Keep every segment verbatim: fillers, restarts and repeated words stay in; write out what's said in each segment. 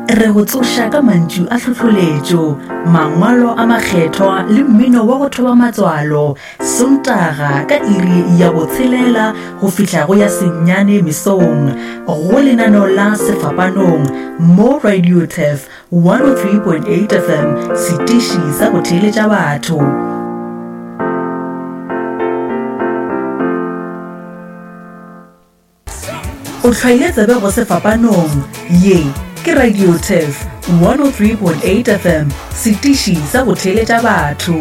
Re go tsoša ka mantšu a hlohloletšo, mangwalo a makgethwa le mmino wa go thoba matswalo, Sontaga ka iri ya botshelela go fihla go ya senyane mesong, go lenaneo la Sefapanong mo Radio Turf one oh three point eight F M, setiši sa go theeletša batho. O hlwaile tsebe go Sefapanong, ye ke Radio Turf one oh three point eight F M, setiši sa go theeletša batho.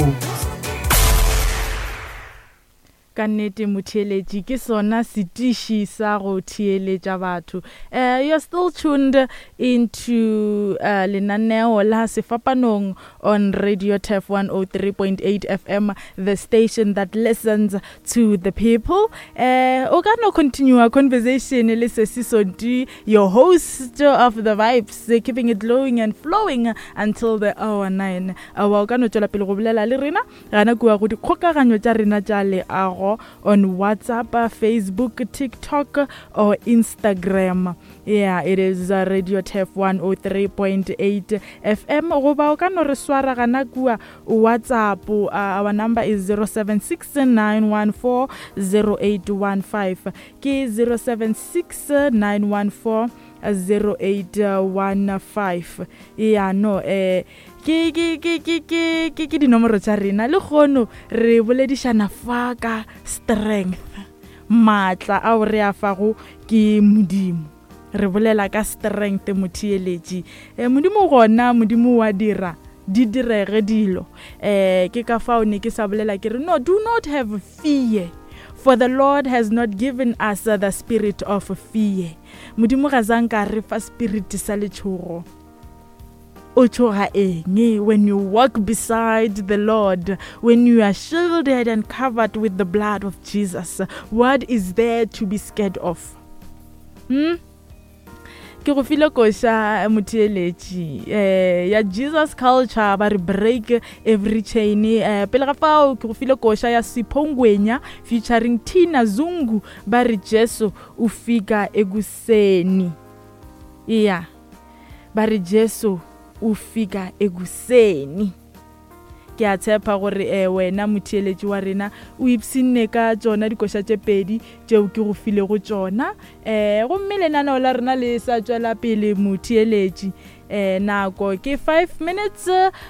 Ka nnete motheeletši ke sona setiši sa go theeletša batho. Uh, you're still tuned into uh, lenaneo la Sefapanong on Radio Turf one oh three point eight F M, the station that listens to the people. Uh, o ka no continue our conversation le Sesi Sonti, your host of the vibes, keeping it glowing and flowing until the hour nine. Uh, o ka no tšwela pele go bolela le rena gana kua go dikgokaganyo tša rena tša leago on WhatsApp, Facebook, TikTok or Instagram. Yeah, it is uh, Radio Turf one oh three point eight F M. Goba o ka no re swara gana kua WhatsApp. Uh, our number is zero seven six nine one four zero eight one five. Ke zero seven six nine one four zero eight one five. Yeah, no, eh ke ke ke ke ke ke ke dinomoro tša rena. Le kgono re boledišana fa ka strength, maatla ao re a fago ke Modimo. Re bolela ka strength motheeletši. Eh, Modimo gona, Modimo wa dira di direge dilo. Eh, ke ka fao ne ke sa bolela ke re no, do not have fear, for the Lord has not given us the spirit of fear. Modimo ga zanka re fa spirit sa letšhogo. O tšhoga eng when you walk beside the Lord, when you are shielded and covered with the blood of Jesus? What is there to be scared of? Hmm? Ke go file koša motheeletši eh ya Jesus Culture, ba re break every chain. Eh pele ga fao ke go file koša ya Siphongwenya featuring Tina Zungu, ba re Jesu o fika ekuseni. Yeah, ba re Jesu o fika ekuseni. Ke a tshepa gore eh wena motheeletši wa rena o ipshinne ka tšona dikoša tše pedi tšeo ke go filego tšona. Eh gomme lenaneo la rena le sa tšwela pele motheeletši. Eh nako ke five minutes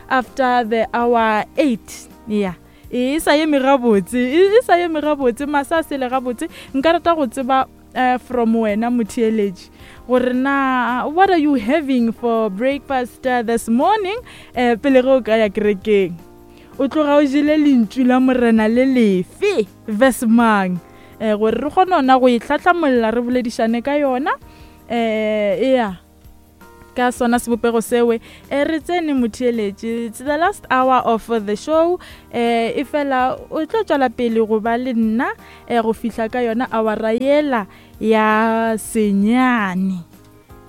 after the hour eight. Yeah, e sa eme gabotse, e sa eme gabotse, masa a sele gabotse. Nka rata go tseba uh, from wena motheeletši gore na what are you having for breakfast uh, this morning? Eh pele ge o ka ya kerekeng, o tloga o jele lentšu la Morena le lefe verse mang? Eh gore re kgone ona go e hlahlamolla, re boledišane ka yona. Eh yeah, ka sona sebopego sewe. Eh re tsene motheeletši, it's the last hour of the show. Eh e fela o tlo tšwela pele go ba le nna eh go fihla ka yona hour yela ya senyane.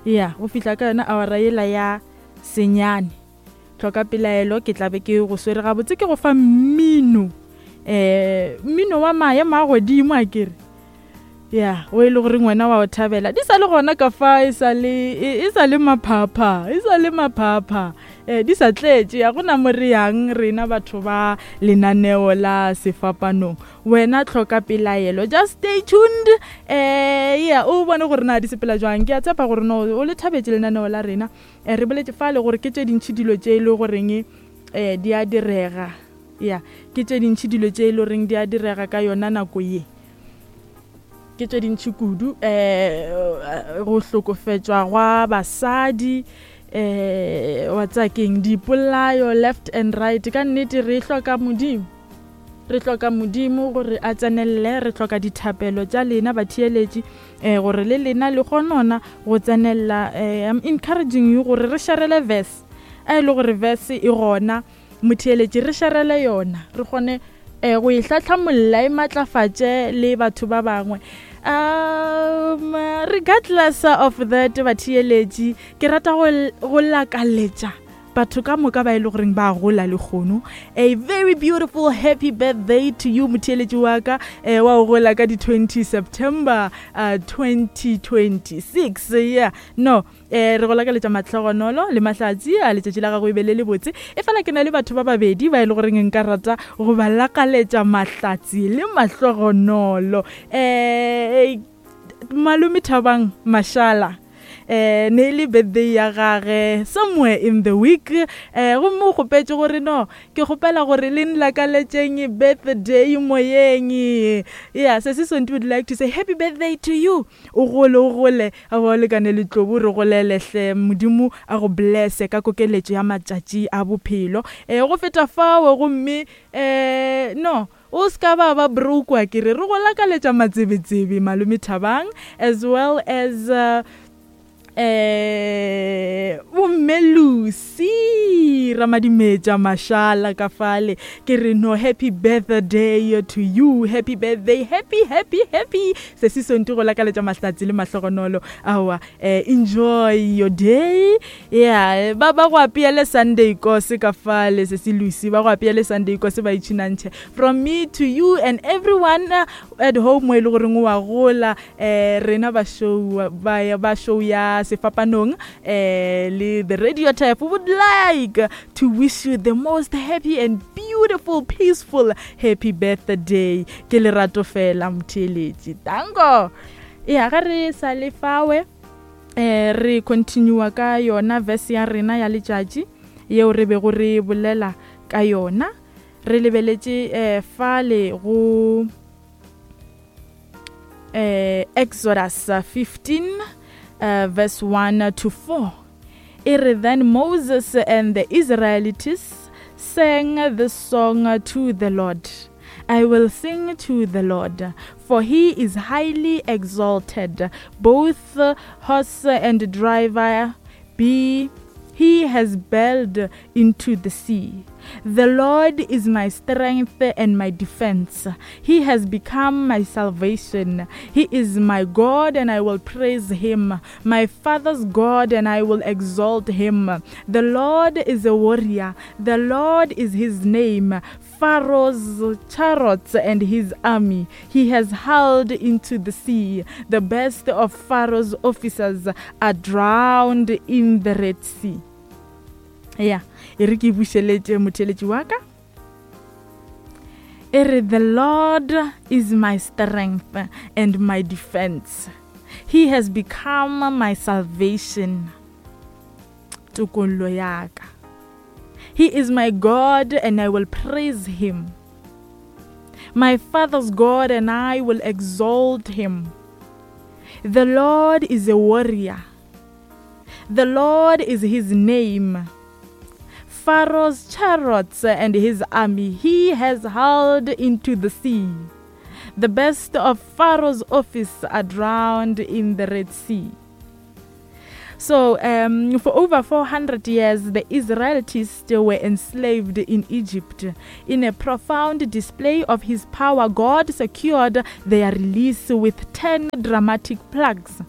Yeah, go fihla ka yona hour yela ya senyane. Hloka pelaelo, ke tla be ke go swere gabotse, ke go fa mmino. Eh mmino wa maemo a godimo a kere. Yeah, o e le gore ngwana wa o thabela. Di sa le gona ka fa, e sa le e sa le maphapha, e sa le maphapha. Eh di sa tletše, ya gona mo re yang rena batho ba lenaneo la Sefapanong. Wena hloka pelaelo, just stay tuned. Eh yeah, o bone gore na di sepela jwang. Ke a tshepa gore no o le thabetse lenaneo la rena. Eh re boletse fa le gore ke tše dintši dilo tše e le goreng eh di a direga. Yeah, ke tše dintši dilo tše e le goreng di a direga ka yona nako ye. Ke tše dintši kudu, eh go hlokofetšwa gwa basadi, eh wa tsaya keng, dipolayo left and right. Ka nnete re hloka Modimo, re hloka Modimo gore a tsenelele. Re hloka dithapelo tša lena batheeletši, eh gore le lena le kgonona go tsenella. Eh, I'm encouraging you gore re sharele verse, a e le gore verse e gona motheeletši, re sharele yona, re kgone eh go e hlahlamolla, e matlafatše le batho ba bangwe. Um regardless of that batheeletši, ke rata go go lakaletša Batho ka moka ba e le goreng ba gola le kgono, a very beautiful happy birthday to you, motheeletši wa ka, eh, wa go gola ka di twenty September uh, twenty twenty-six. Yeah, no, eh, re go lakaletša mahlogonolo le mahlatsi a letšatši la gago e be le le botse. E fela ke na le batho ba babedi ba e le goreng nka rata go ba lakaletša mahlatsi le mahlogonolo. Eh, malome Thabang Mashala, eh, ne le birthday ya gage somewhere in the week, eh, gomme o kgopetše gore no, ke kgopela gore le nlakaletšeng birthday moyeng. Yeah, Sesi Sonti would like to say happy birthday to you. O gole, o gole, a ba o lekane le tlobo, re golele hle, Modimo a go blesse ka kokeletšo ya matšatši a bophelo. Eh, go feta fao gomme, eh, no, o ska ba ba broke wa ke re, re go lakaletša matsebetsebe malome Thabang, as well as, uh, eh, bomme Lucy Ramadimetša Mashala ka fale. Ke re no, happy birthday to you, happy birthday, happy, happy, happy. Sesi Sonti go lakaletša mahlatsi le mahlogonolo. Aowa, eh, enjoy your day. Yeah, ba ba go apeele Sunday kose ka fale, Sesi Lucy, ba go apeele Sunday kose ba itšhinantšhe. From me to you and everyone at home mo e le goreng wa gola, eh, rena ba show, ba, ba show ya Sefapanong, eh, le the radio type would like to wish you the most happy and beautiful, peaceful happy birthday. Ke lerato fela motheeletši. Tango. Ya, ga re sa le fawe, eh, re continue ka yona verse ya rena ya letšatši yeo re bego re bolela ka yona. Re lebeletše, eh, fale go, eh, Exodus fifteen, uh, verse one to four. E re, then Moses and the Israelites sang this song to the Lord. I will sing to the Lord, for he is highly exalted. Both horse and driver be he has bailed into the sea. The Lord is my strength and my defense. He has become my salvation. He is my God, and I will praise him. My father's God, and I will exalt him. The Lord is a warrior. The Lord is his name. Pharaoh's chariots and his army he has hurled into the sea. The best of Pharaoh's officers are drowned in the Red Sea. Yeah, e re ke bušeletše motheeletši wa ka. E re, the Lord is my strength and my defense. He has become my salvation. Tokollo ya ka. He is my God, and I will praise him. My father's God, and I will exalt him. The Lord is a warrior. The Lord is his name. Pharaoh's chariots and his army he has hurled into the sea. The best of Pharaoh's office are drowned in the Red Sea. So, um, for over four hundred years, the Israelites were enslaved in Egypt. In a profound display of his power, God secured their release with ten dramatic plagues.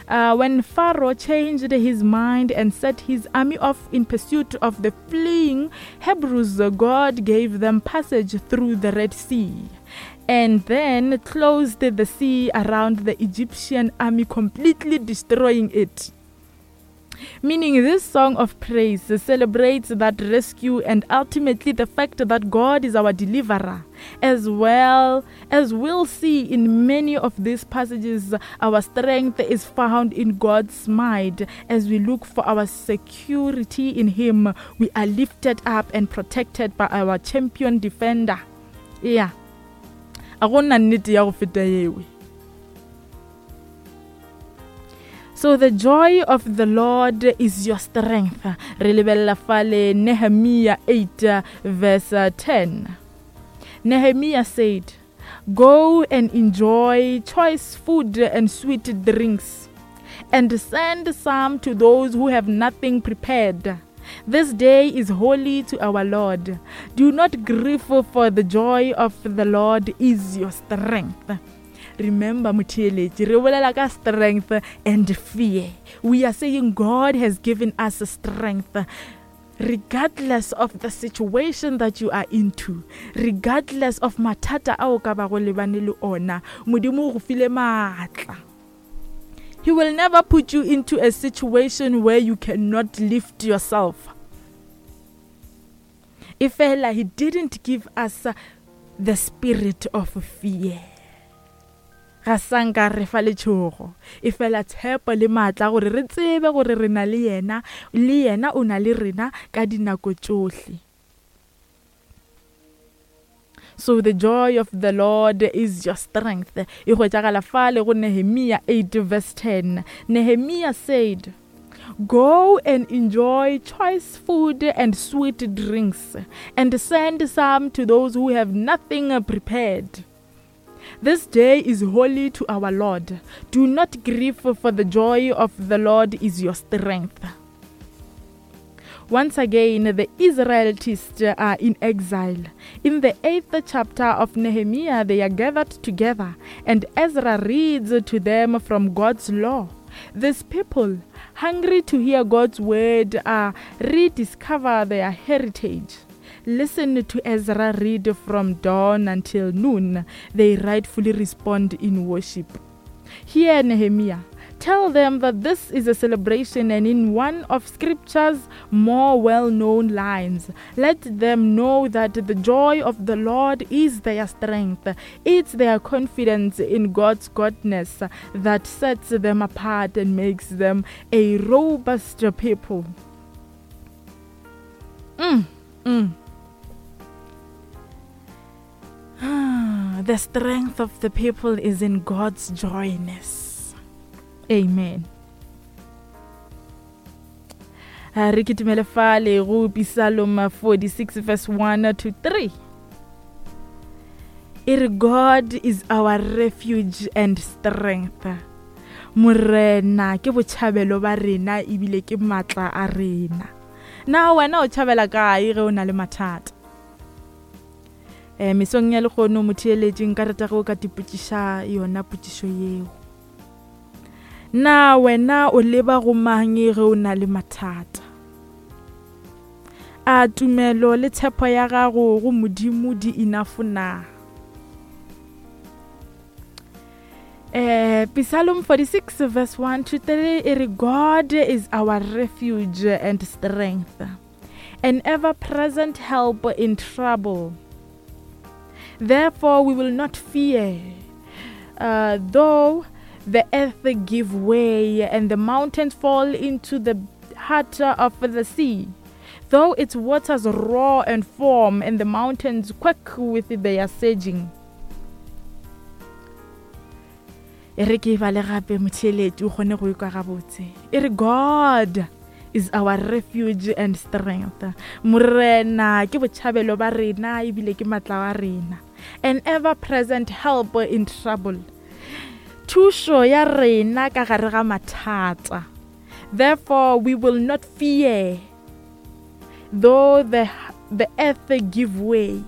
Uh, when Pharaoh changed his mind and set his army off in pursuit of the fleeing Hebrews, God gave them passage through the Red Sea and then closed the sea around the Egyptian army, completely destroying it. Meaning, this song of praise celebrates that rescue and ultimately the fact that God is our deliverer. As well as we'll see in many of these passages, our strength is found in God's might. As we look for our security in Him, we are lifted up and protected by our champion defender. Yeah. A go nna nnete ya go feta yewe. So the joy of the Lord is your strength. Re lebella fale Nehemiah eight verse ten. Nehemiah said, Go and enjoy choice food and sweet drinks, and send some to those who have nothing prepared. This day is holy to our Lord. Do not grieve, for the joy of the Lord is your strength. Remember, motheeletši, re bolela ka strength and fear. We are saying God has given us strength. Regardless of the situation that you are into, regardless of mathata a o ka bago lebane le ona, Modimo o go file maatla. He will never put you into a situation where you cannot lift yourself. Efela he didn't give us the spirit of fear. Ga sa nka re fa letšhogo, efela tshepo le maatla gore re tsebe gore re na le yena, le yena o na le rena ka dinako tšohle. So the joy of the Lord is your strength. E hwetšagala fale go Nehemia eight verse ten. Nehemia said, "Go and enjoy choice food and sweet drinks, and send some to those who have nothing prepared. This day is holy to our Lord. Do not grieve, for the joy of the Lord is your strength." Once again, the Israelites are in exile. In the eighth chapter of Nehemiah, they are gathered together, and Ezra reads to them from God's law. These people, hungry to hear God's word, are rediscover their heritage. Listen to Ezra read from dawn until noon. They rightfully respond in worship. Hear Nehemiah. Tell them that this is a celebration, and in one of scripture's more well-known lines, let them know that the joy of the Lord is their strength. It's their confidence in God's goodness that sets them apart and makes them a robust people. Mm, mm. The strength of the people is in God's joyness. Amen. Re kitimele fale go Psalm forty-six verse one to three. E re, God is our refuge and strength. Morena ke botšhabelo ba rena ebile ke matla a rena. Na wena o tšhabela kae ge o na le mathata? Eh, mesong ya lekgono motheeletši nka rata ge o ka tipotšiša yona potšišo yeo. Na wena o leba go mang ge o na le mathata? A tumelo le tshepo ya gago go Modimo di enough na? Eh, Psalm forty-six verse one to three, e re, God is our refuge and strength, an ever-present help in trouble. Therefore we will not fear, uh, though the earth give way and the mountains fall into the heart of the sea, though its waters roar and foam and the mountains quake with their surging. E re ke bale gape motheeletši o kgone go ikwa gabotse. E re, God is our refuge and strength. Morena ke botšhabelo ba rena ebile ke matla wa rena. An ever-present help in trouble. Thušo ya rena ka gare ga mathata. Therefore we will not fear, though the, the earth give way.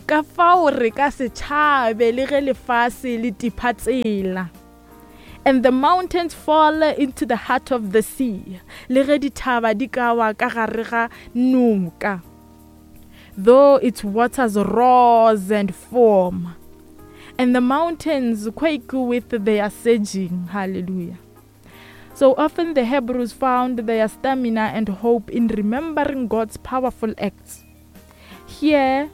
Ka fao re ka se tšhabe le ge lefase le tipha tsela. And the mountains fall into the heart of the sea. Le ge dithaba di ka wa ka gare ga noka. Though its waters roars and foam, and the mountains quake with their surging. Hallelujah. So often the Hebrews found their stamina and hope in remembering God's powerful acts. Here,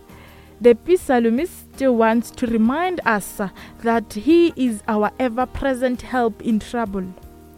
the psalmist wants to remind us that he is our ever-present help in trouble.